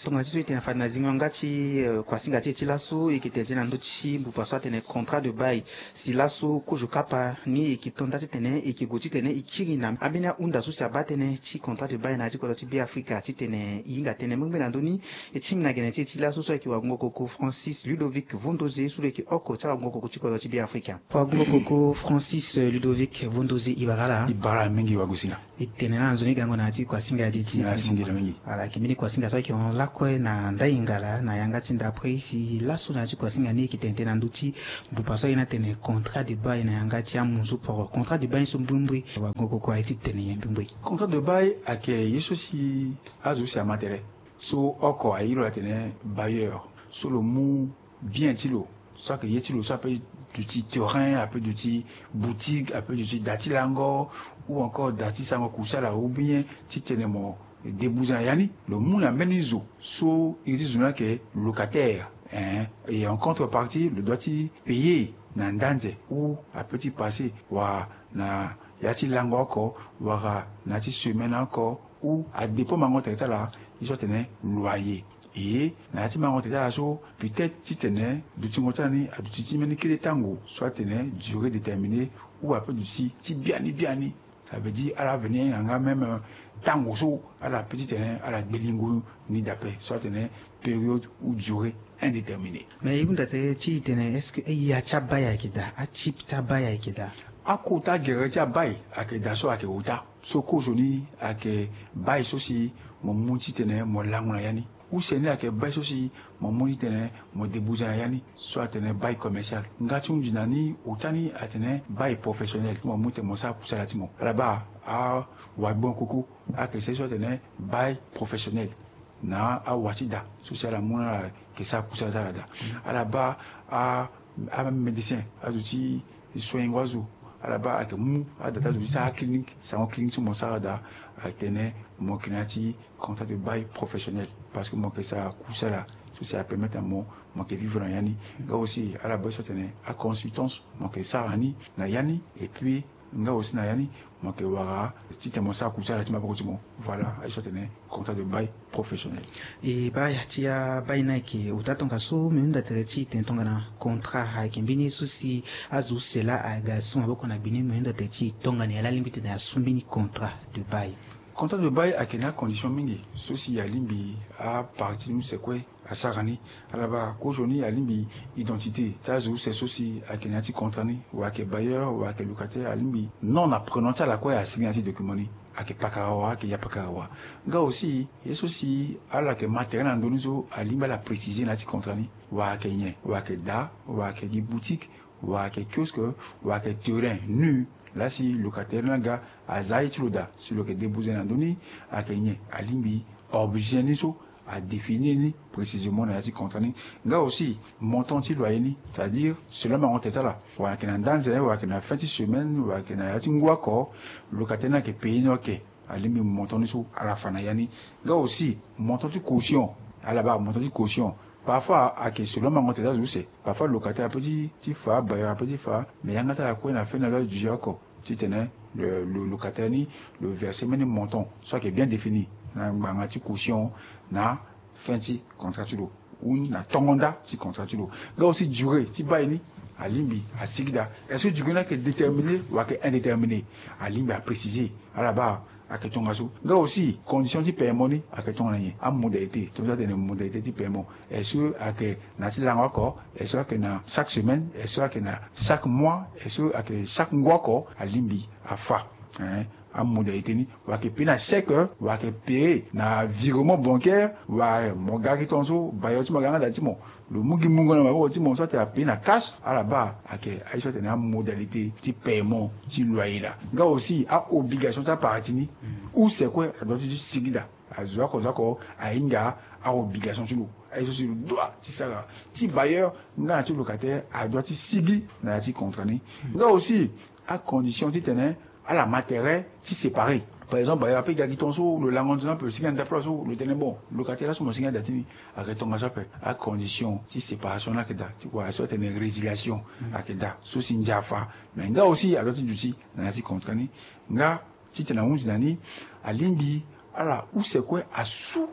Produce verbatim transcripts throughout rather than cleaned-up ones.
Tongana ti so e tene na fade na zingo yanga ti kuasinga ti e ti laso, e yeke tene ti e na ndö ti mbupa so atene contrat de bail. Si laso kozo kapa ni e yeke to nda titene e yeke gue titene e kiri na ambeni ahunda so si abaa tënë ti contrat de bail na ya ti kodro ti Beafrika titene e hinga tënë mengbe na ndö ni. E ti mbi na gene ti e ti laso so ayeke wagungo koko Francis Ludovic Vondoze so lo yeke oko ti awagungo koko ti kodro ti Beafrika. Wagungo koko Francis Ludovic Vondoze, e bara ala. E bara ala mingi wagosinga. E tene na nzoni gango na ya ti kuasinga ya di ti ala. Ala yeke mbeni kuasinga so ayeke hon lakue na ndai ngala na yanga ti ndapre. Si laso na ya ti kuasinga ni e yeke tene tënë na ndö ti mbupa so aye ni atene contrat de bail na yanga ti amunzu poro. Contrat de bail ni so mbrimbri wagungo koko aye ti tene nyen mbrimbri? Contrat de bail ayeke ye so si azo use ama tere so oko aye lo atene bailleur, so lo mu bien ti lo, so ayeke ye ti lo so ape duti terrain, ape duti boutique, ape duti da ti lango, ou encore da ti sarango kusala, ou bien titene mo débouze na ya ni, lo mu na mbeni zo so iri ti zo ni ayeke locataire, hein, et en contrepartie lo doit ti payer na ndanze ou ape ti passer wala na ya ti lango oko wala na ya ti semaine oko, ou adépend mango tere ti ala ye so atene loyer. E na ya ti mango tere ti ala so, peut-être titene dutingo ti ala ni aduti ti mbeni kete tango so atene durée déterminée, ou ape duti ti biani biani. Ça veut dire ala veni yanga même, euh, tango so ala peut titene ala gbe lingo ni dape so atene période ou durée indéterminée. Mais e hunda tere ti e tene est-ce que aya ti abail ayeke daa, atype ti abail ayeke daa? Akota gere ti abail ayeke daa so ayeke ota. So kozoni ayeke bail so si mo mu titene mo lango na ya ni. Use ni ayeke bail so si mo mu titene mo débouze na ya ni, so atene bail commercial. Nga ti hunzi na ni ota ni atene bail professionnel, mo mu titene mo sara kusala ti mo. Ala baa awagbon koko ayeke sara so atene bail professionnel na awa ti da so si ala mu na ala yeke sara kusala ti ala daa. Ala baa a amédecin, azo ti soignengo azo, ala baa ayeke mu ada ti azo ti sara aclinique, sarango clinique so mo sara daa. Atene mo yeke na ya ti contrat de bail professionnel, parce que mo yeke sara kusala so si apermettre na mo, mo yeke vivre na ya ni. Nga aussi ala baa so atene aconsultance, mo yeke sara ni na ya ni. Et puis nga aussi na ya ni mo yeke wara titene mo sara kusala ti maboko ti mo. Voilà aye so atene contrat de bail professionnel. E baa ya ti abail ni ayeke ota tongaso. Me hunda tere ti e tene tongana contrat ayeke mbeni ye so si azo use laa aga su maboko na gbe ni. Me hunda tere ti e tongana nyen laa alingbi titene asu mbeni contrat de bail? Contrat de bail ayeke na acondition mingi so si alingbi apartie ti use kue asara ni. Ala baa kozoni alingbi identité ti azo use so si ayeke na ya ti contrat ni, wala ayeke bailleur wala ayeke locataire, alingbi nom na prénom ti ala kue asigi na ya ti document ni. Ayeke pakara wa, ayeke ya pakara wa. Nga aussi ye so si ala yeke ma tere na ndö ni so alingbi ala préciser na ya ti contrat ni, wala ayeke nyen, wala ayeke da, wala ayeke gi boutique, wala ayeke kiosque, wala ayeke terrain nu. Laa si locataire ni aga aza aye ti lo daa, si lo yeke débouze na ndö ni, ayeke nyen, alingbi objet ni so adéfinir ni précisément na ya ti contrat ni. Nga aussi montant ti loyer ni, c'est-à-dire selon mango tere ti ala, wala ayeke na ndanze, wala ayeke na fin ti semaine, wala ayeke na ya ti ngu oko, locataire ni ayeke payer ni, ok. Alingbi montant ni so ala fa na ya ni. Nga aussi montant ti caution, ala baa montant ti caution. Parfois ayeke selon mango tere ti azo use. Parfois locataire apeut ti fa, bailleur apeut ti fa, mais yanga ti ala kue na fin na lo azo ti oko titene le, le locataire ni lo verser mbeni montant so ayeke bien défini na ngbanga ti caution na fin ti contrat ti lo ou na tongo nda ti contrat ti lo. Nga aussi durée ti bail ni, alingbi asigi daa. Est-ce que durée ni ayeke déterminé wala ayeke indéterminé? Alingbi apréciser. Ala baa ayeke tongaso. Nga aussi condition ti paiement ni ayeke tongana nyen, amodalité, tongana tene modalité ti paiement, est-ce que ayeke na ya ti lango oko, est-ce que ayeke na chaque semaine, est-ce que ayeke na chaque mois, est-ce que ayeke chaque ngu oko, alingbi afa, hein, amodalité ni. Wala ayeke payer na chèque, wala ayeke payer na virement bancaire, wala mo ga gi tongaso, bailleur ti mo aga yanga daa ti mo, lo mu gi mungo na maboko ti mo so atene apayer na cash. Ala baa ayeke aye so atene amodalité ti paiement ti loyer laa. Nga aussi aobligation ti apartie ni, use kue adoit ti sigi daa. Azo oko zo oko ahinga aobligation ti lo, aye so si lo doit ti sara. Ti bailleur nga na ti locataire adoit ti sigi na ya ti contrat ni. Nga aussi acondition titene ala ma tere ti séparer. Par exemple bailleur apeut ga gi tongaso, lo lango nzoni ape, lo sigi na ndapre so, lo tene bon, locataire laso mo sigi na da ti ni, ayeke tongaso ape. Acondition ti séparation ni ayeke daa, ti kua so atene résiliation ayeke daa, so si ndia afa. Mais nga aussi adoit ti duti na ya ti contrat ni. Nga titene ahunzi na ni, alingbi ala use kue asu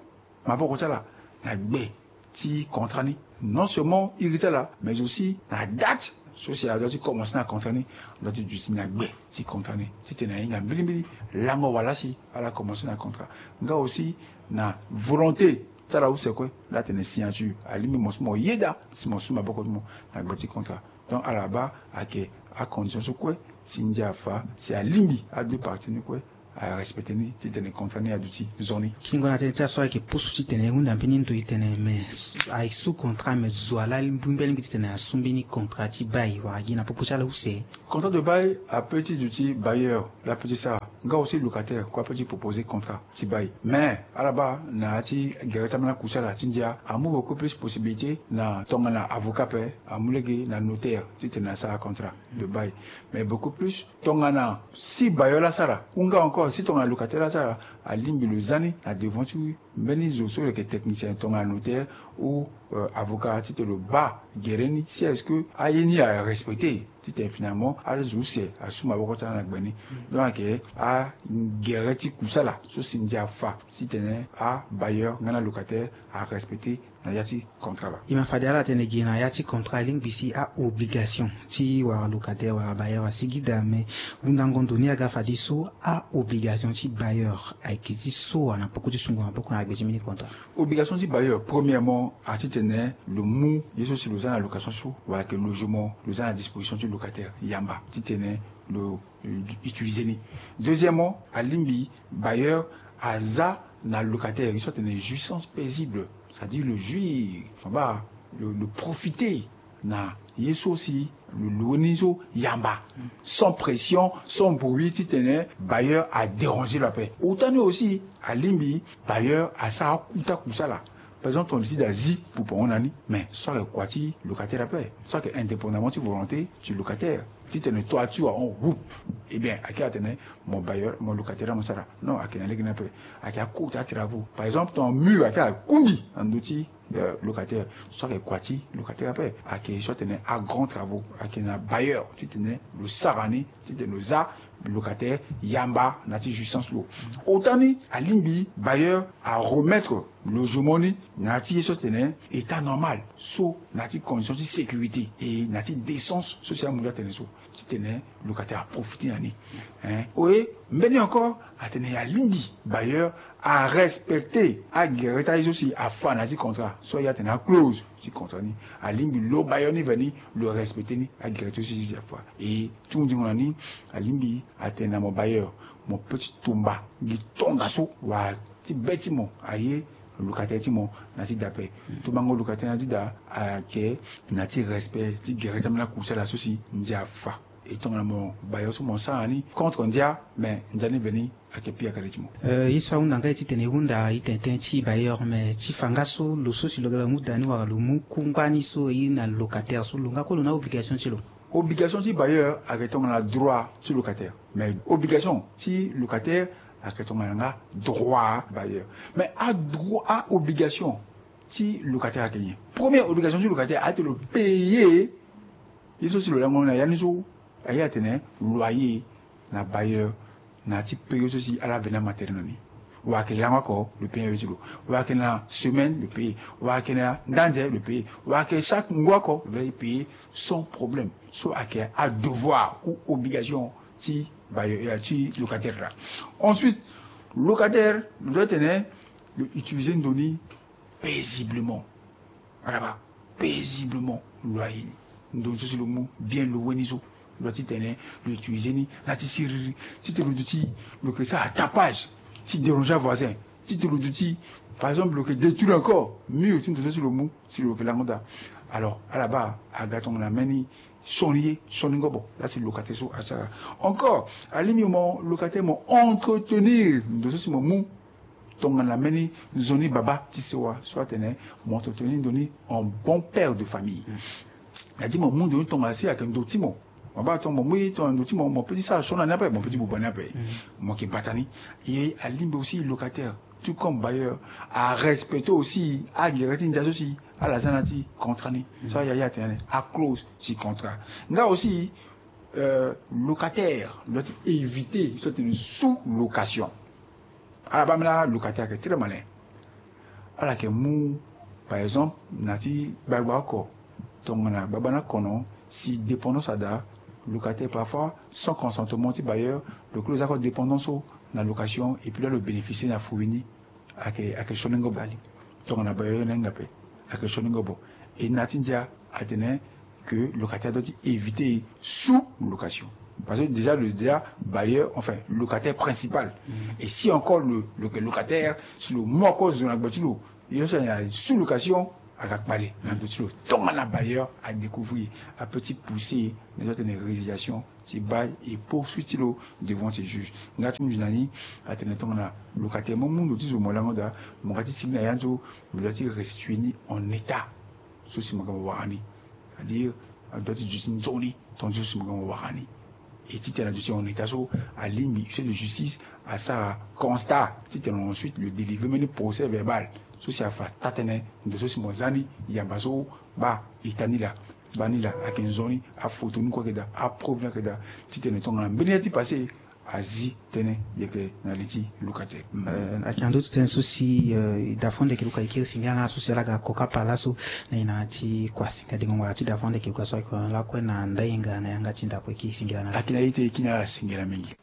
maboko ti ala. na gbe ti contrat ni, non seulement iri ti ala mais aussi na date so si adua ti commencer na contrat ni. Adua ti duti na gbe ti contrat ni titene ahinga mbilimbili lango wala si ala commencer na contrat. Nga aussi na volonté ti ala use kue la tene signature alingbi mo so mo yeda si mo su maboko ti mo na gbe ti contrat. Donc ala baa ayeke acondition so kue si ndia afa si alingbi adeux parti ni kue arespecte ni titene contrat ni aduti zo ni. Kingo na tënë ti aso ayeke pusu titene e hunda mbeni ndo e tene me aye su contrat me zo ala mbi mbi alingbi titene asu mbeni contrat ti bail wala gi na popo ti ala use. Contrat de bail ape ti duti bailleur la pe ti sara nga aussi locataire kue ape ti proposer contrat ti bail mais ala baa na ya ti gere ti ambeni aku ti ala ti ndia amu beaucoup plus possibilité na tongana avocat ape amu lege na notaire titene asara contrat de bail. Mais beaucoup plus tongana si bailleur la sara ou nga encore si tongana locataire la sara alingbi lo za ni na devant ti mbeni zo so lo yeke technicien tongana notaire ou avocat titene lo baa gere ni si est-ce que aye ni arespecte titene finalement azo use asu maboko ti ala na gbe ni. Donc ayeke agere ti kusala so si ndia afa titene abailleur nga na locataire arespecte na ya ti contrat la. E ma fade ala tene gi na ya ti contrat alingbi si aobligation ti wara locataire wara bailleur asigi daa me hundango ndo ni aga fadeso aobligation ti bailleur ayeke ti so wala na poko ti sungo maboko na gbe ti mbeni contrat. Obligation ti bailleur premièrement atitene lo mu ye so si lo za na location so wala ayeke logement lo za na disposition ti locataire yamba titene lo utiliser ni. Deuxièmement alingbi bailleur aza na locataire ye so atene jouissance paisible c'est-à-dire le jouir maba le profiter na ye so si lo loue ni so yamba sans pression sans bruit titene bailleur adéranger lo ape. Ota ni aussi alingbi bailleur asara akuta kusala. Par exemple ton décide azi pour pongo na ni mais so ayeke kua ti locataire ape so ayeke indépendamment ti volonté ti locataire titene toi ti wahon groupe. Eh bien ayeke atene mo bailleur mo locataire amu sara non ayeke na lege ni ape. Ayeke akota travaux par exemple ton mur ayeke akungbi na ndö ti locataire so ayeke kua ti locataire ape ayeke so atene agrand travaux ayeke na bailleur titene lo sara ni titene lo za locataire yamba na ya ti jouissance lo. Ota ni alingbi bailleur aremettre logement ni na ya ti ye so atene état normal so na ya ti condition ti sécurité e na ya ti décence so si amu nda tene so titene locataire aprofiter na ni. Hein oye mbeni encore atene alingbi bailleur arespecter agere ti aye so si afa na ya ti contrat so aye atene aclose ti contrat ni alingbi lo bailleur ni veni lo respecter ni agere ti aye so si afa. E ti hunzingo na ni alingbi atene na mo bailleur mo pe ti tumba gi tongaso wala ti be ti mo aye locataire ti mo na ti da ape. Tumbango locataire na ti da ayeke na ti respect ti gere ti ambeni akusala so si ndia afa. E tongana mo bailleur so mo sara ni contre ndia mais ndia ni veni ayeke pire akade ti mo. Ye so ahunda nga ye titene e hunda e tene tënë ti bailleur mais ti fa nga so lo so si lo ga lo mu da ni wala lo mu kungba ni so e na locataire so lo nga kue lo na obligation ti lo. Obligation ti bailleur ayeke tongana droit ti locataire mais obligation ti locataire ayeke tongana nga droit bailleur. Mais adroit aobligation ti locataire ayeke nyen? Première obligation ti locataire ayeke lo payer ye so si lo lango na ya ni so aye atene loyer na bailleur na ya ti période so si ala veni amatériel na ni. Wala ayeke lango oko lo payer aye ti lo wala ayeke na semaine lo payer wala ayeke na ndanze lo payer wala ayeke chaque ngu oko lo laa e payer sans problème. So ayeke adevoir ou obligation ti bailleur ti locataire laa. Ensuite locataire lo doit tene lo utiliser ndo ni paisiblement. Alaba paisiblement lo aye ni ndo ni so si lo mu bien lo weni so lo doit ti tene lo utiliser ni na ti siriri titene lo duti lo yeke sara tapage ti déranger avoisin titene lo duti par exemple lo yeke détruire encore mur ti ndo so si lo mu si lo yeke lango daa. Alors ala baa aga tongana mbeni sioni ye sioni ngobo laa si locataire so asara. Encore alingbi mo locataire mo entretenir ndo so si mo mu tongana mbeni nzoni baba ti sewa so atene mo entretenir ndo ni en bon père de famille. Na di mo mu ndo ni tongana si ayeke ndo ti mo mo baa tongana mo mu ye tongana ndo ti mo mo pe ti sara sioni na ni ape mo pe ti buba ni ape. Mo yeke bata ni. Ye alingbi aussi locataire tout comme bailleur arespecte aussi agere ti ndia so si ala za na ya ti contrat ni so aya ye atene aclose ti contrat. Nga aussi locataire doit ti éviter so atene sous location. Ala baa mbeni alocataire ayeke très malin. Ala yeke mu Par exemple, na ti gbagba oko, tongana gbagba ni akono, si dépendance ada, locataire parfois sans consentement ti bailleur, lo kiri lo za ko dépendance so na location, et puis la lo bénéficier na fruit ni. Ake ake sioningo bali. Tongana bailleur na hinga pe, ake sioningo bo. Et na ti ndia atene que locataire doit éviter sous location, parce que déjà le déjà bailleur, enfin, locataire principal. Et si encore le, le locataire, si lo mu oko zo na gbe ti lo, il y a sous location, aga kpale na ndo ti lo. Tongana bailleur a découvrir, a peut ti pousser na ti atene résiliation ti bail et poursuite ti lo devant ti juge. Nga ti mu nzi na ni atene tongana locataire mo mu ndo ti zo mo lango daa, mo ga ti sigi na ya ni so, mo doit ti restituer ni en état. So si mo ga mo wara ni, c'est-à-dire a doit ti duti nzoni, tandis so si mo ga mo wara ni. Et titene a duti en état so, alingbi huissier de justice asara constat, titene ensuite lo délivrer mbeni procès verbal so si afa taa tënë ndo so si mo za ni, yamba so, baa état ni laa, baa ni laa, ayeke nzoni, aphoto ni kue ayeke daa, apreuve ni ayeke daa, titene tongana mbeni ya ti passé azi tënë yeke na li ti locataire. Ayeke na ndö ti tënë so si, euh, e da fo ande yeke luka e kiri singila na ala so si ala ga koka pa laso na e na ya ti kua singila dengo ngua ti da fo ande yeke luka so ayeke lakue na ndai nga na yanga ti ndako e kiri singila na ala. Ayeke na ite e kiri na ala singila mingi.